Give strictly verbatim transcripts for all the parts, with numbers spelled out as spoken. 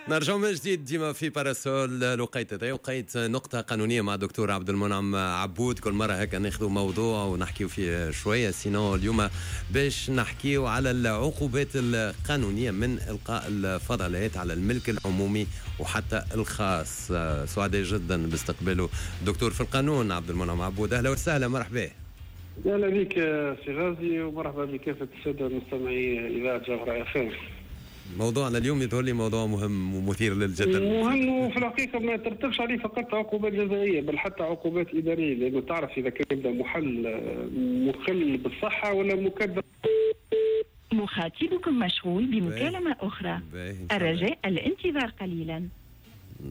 نرجع من جديد ديما في Parasol، الوقيت هذا وقيت نقطة قانونية مع دكتور عبد المنعم عبود. كل مرة هكا ناخذ موضوع ونحكيو فيه شوية، sinon اليوم باش نحكيو على العقوبات القانونية من إلقاء الفضلات على الملك العمومي وحتى الخاص. سعداء جدا باستقباله دكتور في القانون عبد المنعم عبود. أهلا وسهلا، مرحبا. اهلا بك سي غازي ومرحبا بكافة السادة المستمعي اذاعة جوهره اف ام. موضوعنا اليوم يظهر لي موضوع مهم ومثير للجدل. مهم، وفي الحقيقة ما ترتبش عليه فقط عقوبات جزائيه بل حتى عقوبات اداريه، لانه تعرف اذا كان يبدا محل مخل بالصحة ولا مكدر. مخاطبكم مشغول بمكالمه اخرى، الرجاء الانتظار قليلا.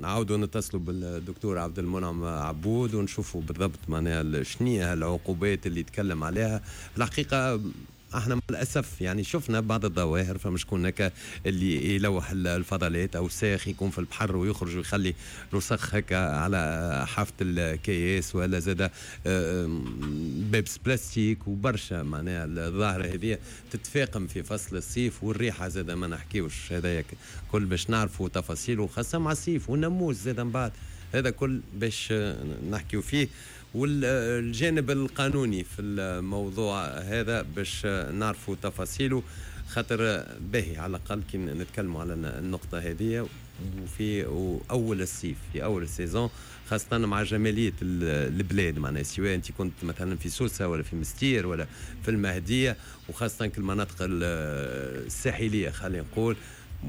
نعاودوا نتصلوا بالدكتور عبد المنعم عبود ونشوفوا بالضبط معناها شنية العقوبات اللي يتكلم عليها. الحقيقة احنا للاسف يعني شفنا بعض الظواهر، فما شكون هكا اللي يلوح الفضلات او ساخ يكون في البحر ويخرج ويخلي رسخ هكا على حافة الكياس، ولا زاد بيبس بلاستيك وبرشا. معناها الظاهرة هذه تتفاقم في فصل الصيف، والريحه زاد ما نحكيوش، هذا كل باش نعرفوا تفاصيله خاصة مع الصيف والناموس زاد من بعد، هذا كل باش نحكيو فيه. والجانب القانوني في الموضوع هذا باش نعرفوا تفاصيله، خاطر باهي على الأقل كي نتكلموا على النقطة هذه وفي أول الصيف، في أول ال saison، خاصة مع جمالية البلاد، معناها سواء أنت كنت مثلا في سوسة ولا في مستير ولا في المهدية، وخاصة كل المناطق الساحلية خلينا نقول.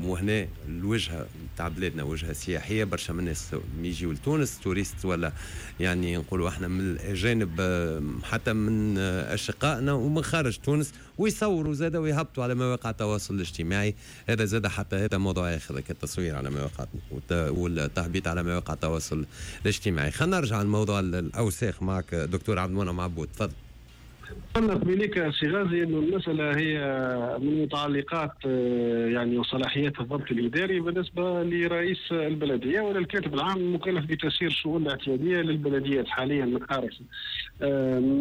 وهنا الوجهة تاع بلادنا وجهه سياحية، برشا من الناس يجيو لتونس touristes، ولا يعني نقولوا احنا من الاجانب، حتى من اشقائنا ومن خارج تونس، ويصوروا زاده ويهبطوا على مواقع التواصل الاجتماعي. هذا زاده حتى هذا موضوع اخر، التصوير على مواقع والتهبيط على مواقع التواصل الاجتماعي. خلينا نرجع لموضوع الاوساخ معك دكتور عبد المنعم عبود، تفضل. قلنا قبيليك سي غازي انه المسالة هي من متعلقات يعني وصلاحيات الضبط الاداري بالنسبة لرئيس البلدية ولا الكاتب العام المكلف بتسيير الشؤون الاعتيادية للبلديات حاليا من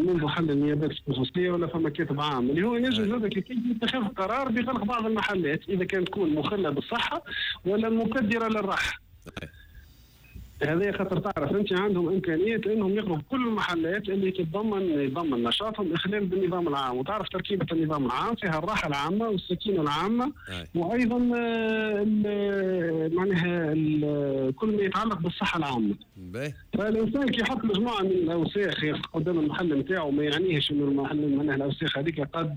منذ حل النيابات الخصوصية، ولا فما كاتب عام اللي هو ينجم زاد كيف يتخذ قرار بغلق بعض المحلات اذا كانت تكون مخله بالصحة ولا مكدرة للراحة. هذا خاطر تعرف انت عندهم امكانية انهم يغلقوا كل المحلات اللي تتضمن يضمن نشاطهم اخلال بالنظام العام، وتعرف تركيبه النظام العام فيها الراحة العامة والسكينة العامة، وايضا معناها كل ما يتعلق بالصحة العامة. فالانسان كي يحط مجموعة من الاوساخ قدام المحل نتاعو ما يعنيهش انه المحل معناها الاوساخ هذيك قد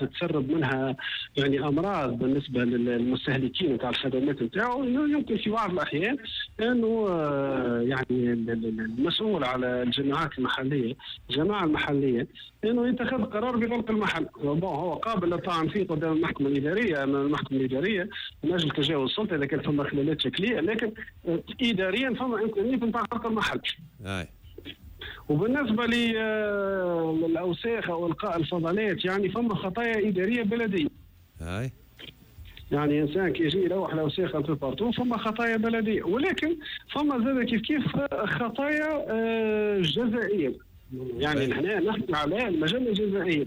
تتسرب منها يعني امراض بالنسبة للمستهلكين نتاع الخدمات نتاعو. يمكن في بعض الاحيان انه يعني المسؤول على الجماعات المحلية، الجماعة المحلية، انه يتخذ قرار بغلق المحل. bon هو قابل للطعن فيه قدام المحكمة الادارية، امام المحكمة الادارية من اجل تجاوز السلطة اذا كان فما خلالات شكلية، لكن اداريا فما امكانية نتاع غلق المحل. أي. وبالنسبة للاوساخ او القاء الفضلات يعني فما خطايا ادارية بلديه. أي. يعني انسان كي يجي يلوح الاوساخ في partout فما خطايا بلديه، ولكن فما زاد كيف كيف خطايا جزائيه. يعني هنا نحكي على المجلة الجزائيه.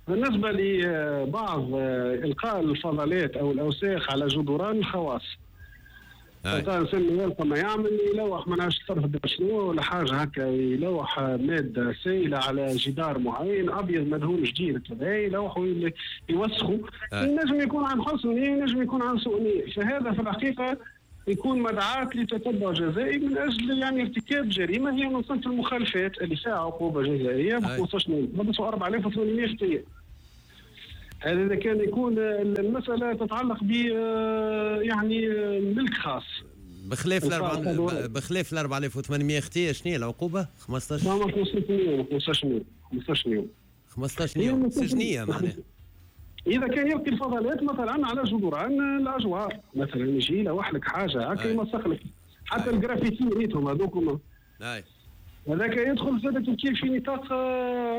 بالنسبة لبعض القاء الفضلات او الاوساخ على جدران الخواص، الانسان يلقى ما يعمل يلوح ما نعرفش طرف شنو ولا حاجة هكا، يلوح مادة سائله على جدار معين ابيض مدهون جديد كذا، يلوحوا يوسخوا. ينجم يكون عن حسن نيه، ينجم يكون عن سوء نيه، فهذا في الحقيقة يكون مدعاة لتتبع جزائي من اجل يعني ارتكاب جريمة هي من صنف المخالفات اللي فيها عقوبه جزائيه ب خمسطاش مليون أربعة آلاف وثمانمائة خطيه. هذا اذا كان يكون المسالة تتعلق ب يعني ملك خاص. بخلاف الأربعة بخلاف ال أربعة آلاف وثمانمائة خطيه شنو هي العقوبة؟ خمسطاش خمسطاش خمسطاش يوم خمسطاش يوم خمسطاش يوم سجنيه معناها. اذا كان يلقي الفضلات مثلا على جدران الاجوار مثلا، يجي يلوح لك حاجة هكا يمسخ لك حتى الجرافيتي ريتهم هذوك، هذاك يدخل زاد كيف في نطاق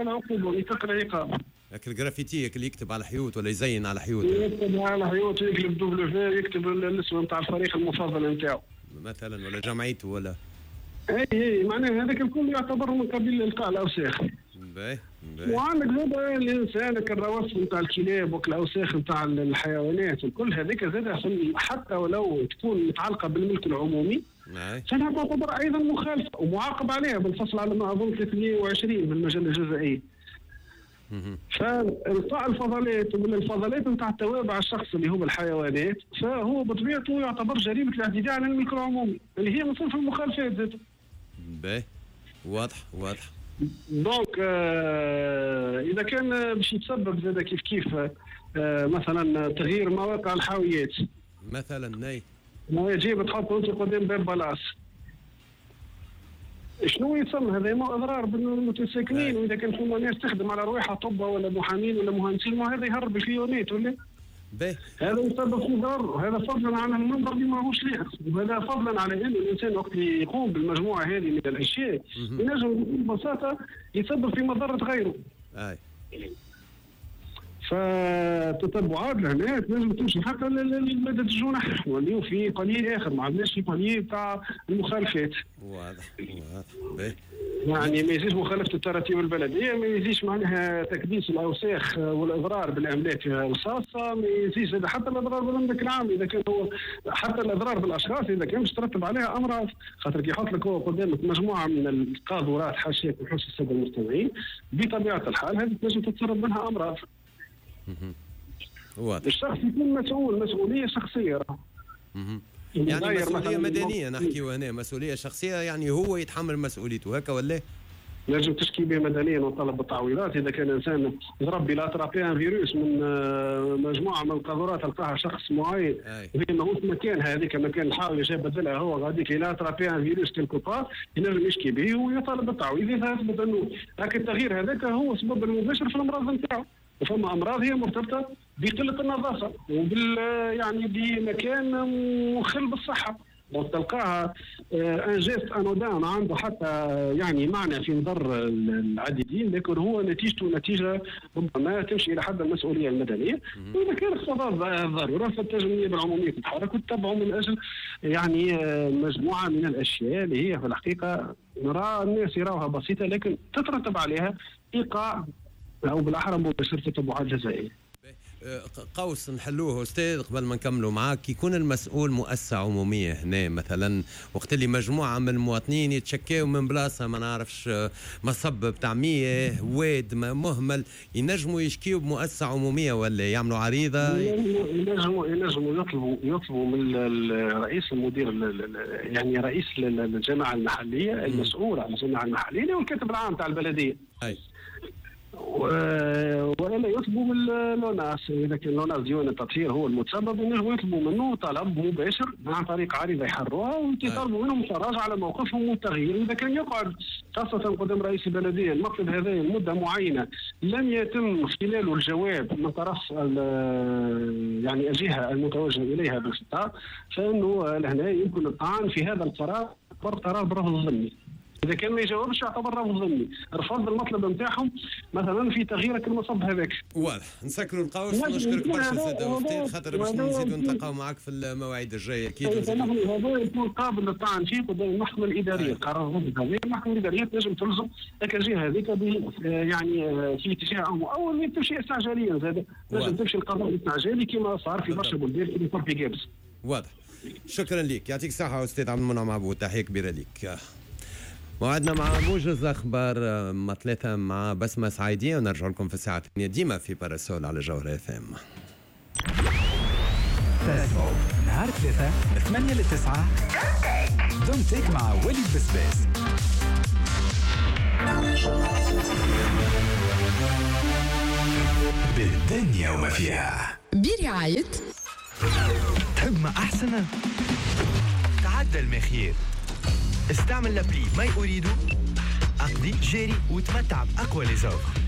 العقوبة نطاق العقاب. لكن الجرافيتي اللي يكتب على حيوط ولا يزين على حيوط، يكتب على حيوط، يكتب W، يكتب الاسم نتاع الفريق المفضل نتاعو مثلا ولا جمعيته ولا اي اي معناها هذاك الكل يعتبر من قبيل القاء الاوساخ. باهي. وعندك زاد الانسان الروث نتاع الكلاب والاوساخ نتاع الحيوانات وكل هذيك زاد حتى ولو تكون متعلقه بالملك العمومي فانها تعتبر ايضا مخالفة ومعاقب عليها بالفصل على ما اظن ثلاثمية وعشرين من المجلة الجزائيه. فالقاء الفضلات ولا الفضلات نتاع التوابع الشخص اللي هو الحيوانات فهو بطبيعته يعتبر جريمة الاعتداء على الملك العمومي اللي هي من صنف المخالفات زاد. باهي واضح واضح. donc آه اذا كان باش يتسبب زاد كيف كيف آه مثلا تغيير مواقع الحاويات مثلا، ناي ما يجيب تحط انت قدام باب بلاص شنو يتسمى هذا؟ ما اضرار بالمتساكنين. واذا كان فما ناس تخدم على رواحها طبة ولا محامين ولا مهندسين ما هذا يهرب الفيونات ولا باهي، هذا يسبب في ضرر، وهذا فضلا عن المنظر اللي ماهوش لائق، وهذا فضلا على انه الانسان وقت اللي يقوم بالمجموعة هذه من الاشياء ينجم ببساطة يسبب في مضرة غيره. اي فتتبعات لهنا تنجم تمشي حتى لمادة الجنح، نوليو في palier اخر، ما عندناش في palier تاع المخالفات. واضح واضح. يعني ما يزيدش مخالفة التراتيب البلدية، ما يزيدش معناها تكديس الاوساخ والاضرار بالاملاك الخاصة، ما يزيدش حتى الاضرار بالاملاك العام اذا كان هو، حتى الاضرار بالاشخاص اذا كان باش ترتب عليها امراض، خاطر كي يحط لك هو قدامك مجموعة من القاذورات حاشاك وحوش السادة المستمعين، بطبيعة الحال هذه تنجم تتسرب منها امراض. واضح. الشخص يكون مسؤول مسؤولية شخصية. يعني مسؤولية مدنية نحكيو هنا، مسؤولية شخصية يعني هو يتحمل مسؤوليته هكا ولا؟ لازم تشكي به مدنيا وطلب بالتعويضات اذا كان انسان ضرب بلا attrapé un virus من مجموعة من القاذورات لقاها شخص معين وهي ماهوش مكانها هذيك مكان الحاويه جاب بدلها هو غاديك الى attrapé un virus quelque part ينجم يشكي به ويطالب بالتعويض اذا اثبت انه هاك التغيير هذاك هو السبب المباشر في الامراض نتاعو. وفما امراض هي مرتبطة بقلة النظافة وبال يعني بمكان مخل بالصحة، وتلقاها un geste anodin ما عنده حتى يعني معنى في نظر العديدين، لكن هو نتيجته نتيجة ربما تمشي الى حد المسؤولية المدنية. واذا كان اقتضى الضرورة فالتجميع النيابة العمومية تتحرك وتتبعه من اجل يعني مجموعة من الاشياء اللي هي في الحقيقة نرى الناس يراوها بسيطة لكن تترتب عليها ايقاع او بالاحرى مباشرة تتبعات جزائيه. قوس نحلوه استاذ قبل ما نكملوا معاك، يكون المسؤول مؤسسة عموميه هنا مثلا وقت اللي مجموعة من المواطنين يتشكاو من بلاصة ما نعرفش مصب بتاع مياه واد مهمل، ينجموا يشكيو بمؤسسه عموميه ولا يعملوا عريضة؟ ينجموا ينجموا يطلبوا يطلبوا من الرئيس المدير يعني رئيس الجماعة المحلية المسؤول عن الجماعة المحلية والكاتب العام تاع البلدية. اي والا يطلبوا من l'ONAS، اذا كان l'ONAS ديوان التطهير هو المتسبب ينجموا يطلبوا منه طلب مباشر عن طريق عريضة يحروها ويطالبوا منهم التراجع على موقفهم والتغيير. اذا كان يقعد خاصة قدام رئيس البلدية المطلب هذا لمدة معينة لم يتم خلاله الجواب من طرف يعني الجهة المتوجه اليها بالخطاب، فانه لهنا يمكن الطعن في هذا القرار قرار برفض الضمني. اذا كان ما يجاوبش يعتبر رفض ضمني، رفض المطلب نتاعهم مثلا في تغيير المصب هذاك. واضح، نسكروا القوس ونشكرك برشا سيد وفتيل خاطر باش نزيدوا نتلاقاو معاك في المواعيد الجاية اكيد. هذا يكون قابل للطعن فيه قدام المحكمة الادارية، القرار الضد هذا المحكمة الادارية تنجم تلزم الجهة هذيك يعني في اتجاه او او تمشي استعجاليا زاد، تنجم تمشي القضاء الاستعجالي كما صار في برشا بلدان كما صار في قابس. واضح، شكرا لك، يعطيك الصحة استاذ عبد المنعم عبود، تحية كبيرة لك. موعدنا مع موجز اخبار ما ثلاثة مع بسمه سعيديه، ونرجع لكم في الساعة الثانية ديما في باراسول على جوهرة اف ام. نهار ثلاثة من ثمانية ل تسعة دونتك مع وليد بسباس. بالدنيا وما فيها برعاية تحب ما احسن تعدل المخير، استعمل l'appli My Ooredoo، اقضي جاري وتمتع باقوى les offres.